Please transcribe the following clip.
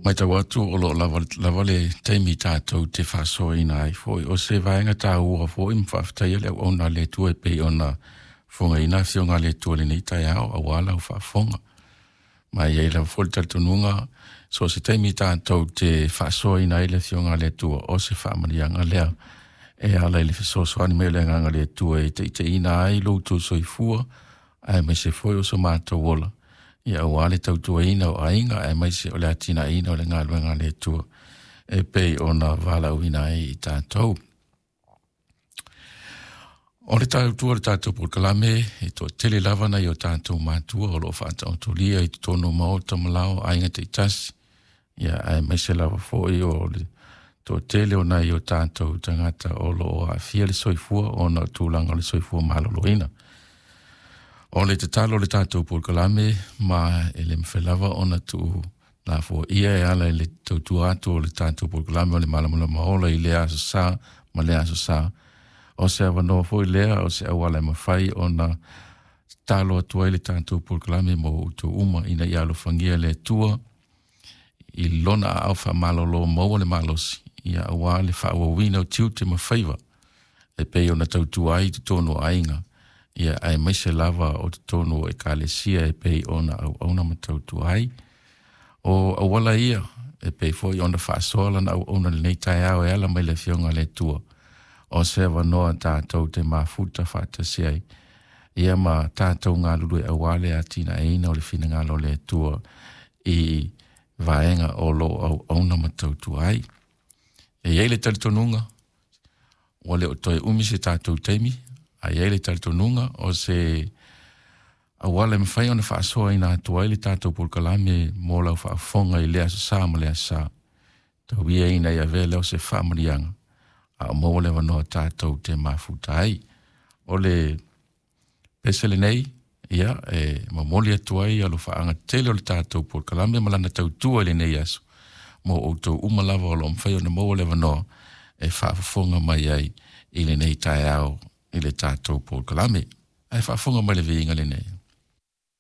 Matau atu o loo lava, lava le taimi tatou te faasoaina ai foi o se vaega taua foi ma faafetaia le auauna a le Atua e pei ona fofogaina afioga a le Atua i lenei taeao aua lau faafofoga. Ma e i ai lava foi le talitonuga so o se taimi tatou te faasoaina ai le afioga a le Atua o se faamanuiaga lea e ala i le fesoasoani mai o le agaga o le Atua e taitaiina ai lo outou soifua aemaise foi o so matou ola ia aua le tautuaina o aiga aemaise o le atinaeina o le galuega a le Atua e pei ona valaauina ai i tatou. O le tautua o le tatou polokalame e toatele lava nai o tatou matua o lo o faataotolia i totonu o maota ma lao aiga taitasi ia aemaise lava foi o le toatele o nai o tatou tagata o lo o aafia le soifua ona o tulaga o le soifua maloloina. O le tatalo o le tatou polokalame ma e le mafai lava ona tuu lafoia e ala i le tautua atu o le tatou polokalame o le Malamalama Ola i lea aso Sa ma lea aso Sa. O se avanoa foi lea o se auala e mafai ona tatalo atu ai le tatou polokalame mo outou uma ina ia alofagia le Atua i lona aao faamalolo maua le malosi ia aua le faaauauina o tiute ma faiva e pei ona tautua ai i totonu o aiga ia aemaise lava o totonu o ekalesia e pei ona auauna ma tautua ai. O auala ia e pei foi ona faasoa lana auauna i lenei taeao e ala mai le afioga a le Atua o se avanoa tatou te mafuta faatasi ai ia ma tatou galulue aua le atinaeina o le finagalo o le Atua i vaega o lo o auauna ma tautua ai. E i ai le talitonuga ua le o toe umi se tatou taimi, a i ai le talitonuga o se auala e mafai ona faasoaina atu ai le tatou polokalame mo lau faafofoga i lea aso Sa ma lea aso Sa. Tau ia ina ia avea lea o se faamanuiaga a o maua le avanoa tatou te mafuta ai. O le pese lenei, ia, e momoli atu ai alofaaga tele o le tatou polokalame ma lana tautua i lenei aso mo outou uma lava o lo o mafai ona maua le avanoa e faafofoga mai ai i lenei taeao i le tatou polokalame. Ae faafofoga mai le viiga lenei.